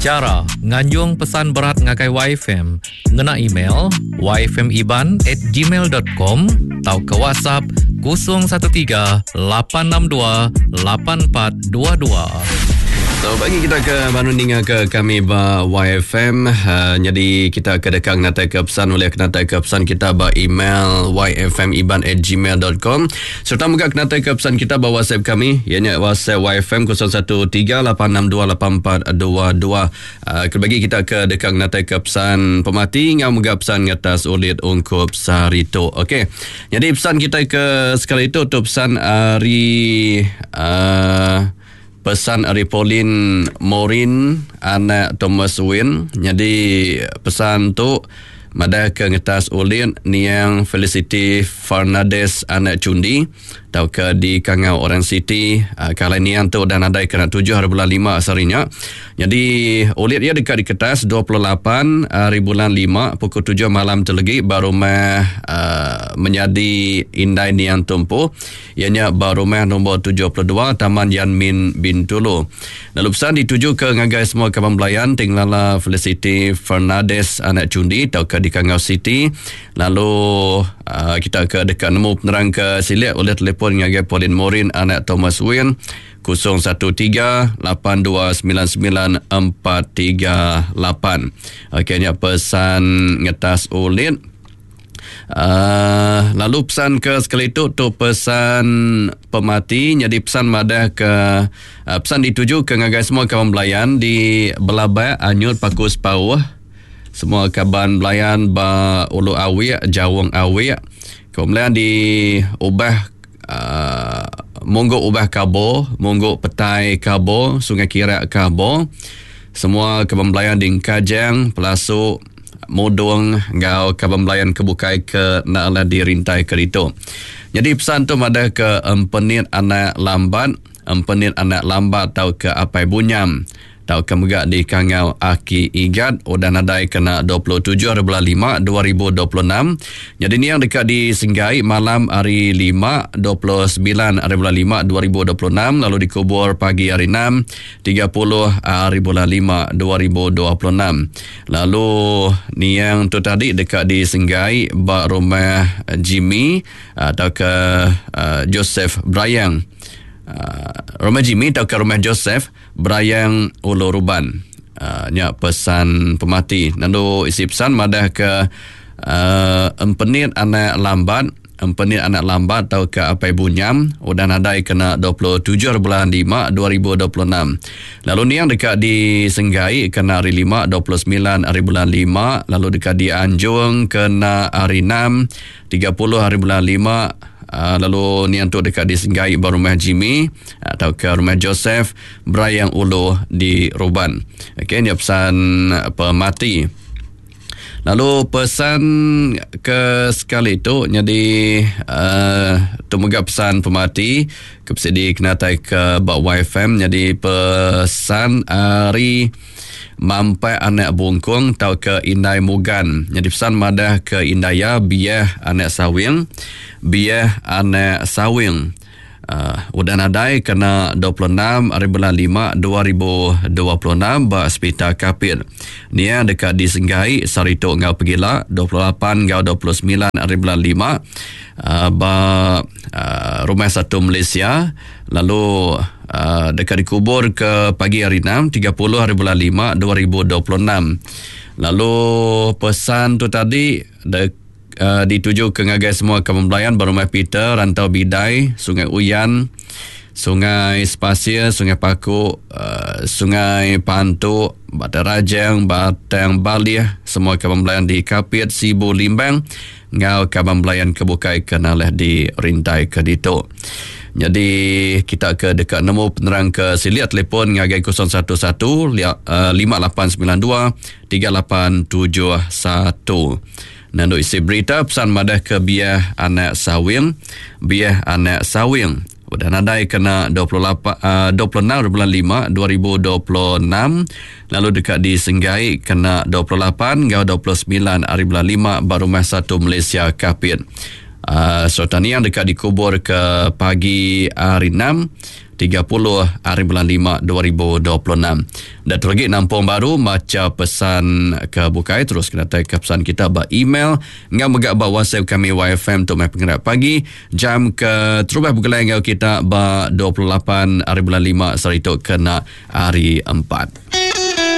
Chara nganjung pesan berat ngagai YFM ngena email yfmiban@gmail.com tauka WhatsApp 013 862 8422. So bagi kita ke baru ninga ke kami ba YFM uh, jadi kita ke deka ngatai ke pesan oleh kenatai ke pesan kita ba email yfmiban@gmail.com serta mega kenatai ke pesan kita ba WhatsApp kami ianya WhatsApp YFM 0138628422 Uh, bagi kita ke deka ngenatai ke pesan pemati ngau mega pesan ngetas ulit ungkup sehari tu. Okey. Jadi pesan kita ke sekali itu tu pesan ari uh, pesan ari Pauline Morin anak Thomas Win. Jadi pesan tu madah ke ngetas ulit niang Felicity Fernandez anak Chundi. tauka di Kangau Orang Siti uh, ke alai niang tu udah nadai kena 7 hari bulan 5 sehari nya. Jadi ulit iya deka diketas 28 hari bulan 5 pukul 7 malam tu legi ba rumah uh, menyadi indai niang tu empu iya nya ba rumah nombor 72 Taman Yanmin Bintulu. Lalu pesan dituju ke ngagai semua kaban belayan ti ngelala Felicity Fernandez anak Chundi tauka di Kangau City Lalu uh, kita ke deka nemu penerang ke silik oleh telefon ngagai Pauline Morin anak Thomas Win 013 8299 438. Okey nya pesan ngetas ulit. Uh, lalu pesan ke sekali tu tu pesan pemati jadi pesan madah ke uh, pesan dituju ke ngagai semua kawan belayan di Belabak Anyut Paku Sepauh Semua kaban belayan ba Ulu Awik, Jaung Awik, ke belayan di Ubah uh, Munggu Ubah Kabo, Munggu Petai Kabo, Sungai Kirak Kabo. Semua kaban belayan di Engkajang, Pelasu, Mudung enggau kaban belayan ke bukai ke enda alah dirintai ke ditu. Jadi pesan tu madah ke empenit anak lambat, empenit anak lambat tauka apai bunyam. Tauka mega dikangau Aki Igat udah nadai kena 27 hari bulan 5 2026. Nyadi niang deka disenggai malam hari 5 29 hari bulan 5 2026 lalu dikubur pagi hari 6 30 hari bulan 5 2026. Lalu niang tu tadi deka disenggai ba rumah Jimmy tauka Joseph Brayang. Rumah Jimmy tauka rumah Joseph Berayang Ulu Ruban. Uh, nya pesan pemati. Lalu isi pesan madah ke uh, empenit anak lambat, empenit anak lambat tau ke apai bunyam udah nadai kena 27 bulan 5 2026. Lalu niang deka disenggai kena hari 5 29 hari bulan 5 lalu deka dianjung kena hari 6 30 hari bulan 5 uh, lalu niang tu deka disenggai ba rumah Jimmy tauka rumah Joseph Berayang Ulu di Ruban. Okey nya pesan pemati. Lalu pesan ke sekali tu nyadi uh, tu mega pesan pemati ke bisi dikenatai ke ba YFM nyadi pesan ari Mampai anak bungkung tauka indai mugan nyadi pesan madah ke indai iya biah anak sawing biah anak sawing uh, udah nadai kena 26 hari bulan 5 2026 ba Sepital Kapit. Nia deka disenggai sehari tu enggau pegila 28 enggau 29 hari bulan 5 uh, ba uh, Rumah Satu Malaysia lalu uh, deka dikubur ke pagi hari 6 30 hari bulan 5 2026. Lalu pesan tu tadi de, uh, dituju ke ngagai semua kaban belayan ba Rumah Peter, Rantau Bidai, Sungai Uyan, Sungai Sepasir, Sungai Paku, uh, Sungai Pantu, Batang Rajang, Batang Balih, semua kaban belayan di Kapit, Sibu, Limbang enggau kaban belayan ke bukai ke nalih di rintai ke ditu. Nyadi kita ke deka nemu penerang ke silik telefon ngagai 011 5892 3871. Nandu isi berita pesan madah ke biah anak sawing, biah anak sawing udah nadai kena 28 26 bulan 5 2026 lalu deka disenggai kena 28 enggau 29 hari bulan 5 ba Rumah Satu Malaysia Kapit. Uh, sereta niang deka dikubur ke pagi hari 6 30 30 hari bulan 5 2026. Datu lagi nampung baru macha pesan ke bukai terus kena tai ke pesan kita ba email enggau mega ba WhatsApp kami YFM tu mai pengerak pagi jam ke terubah begulai enggau kita ba 28 hari bulan 5 sehari tu kena hari 4.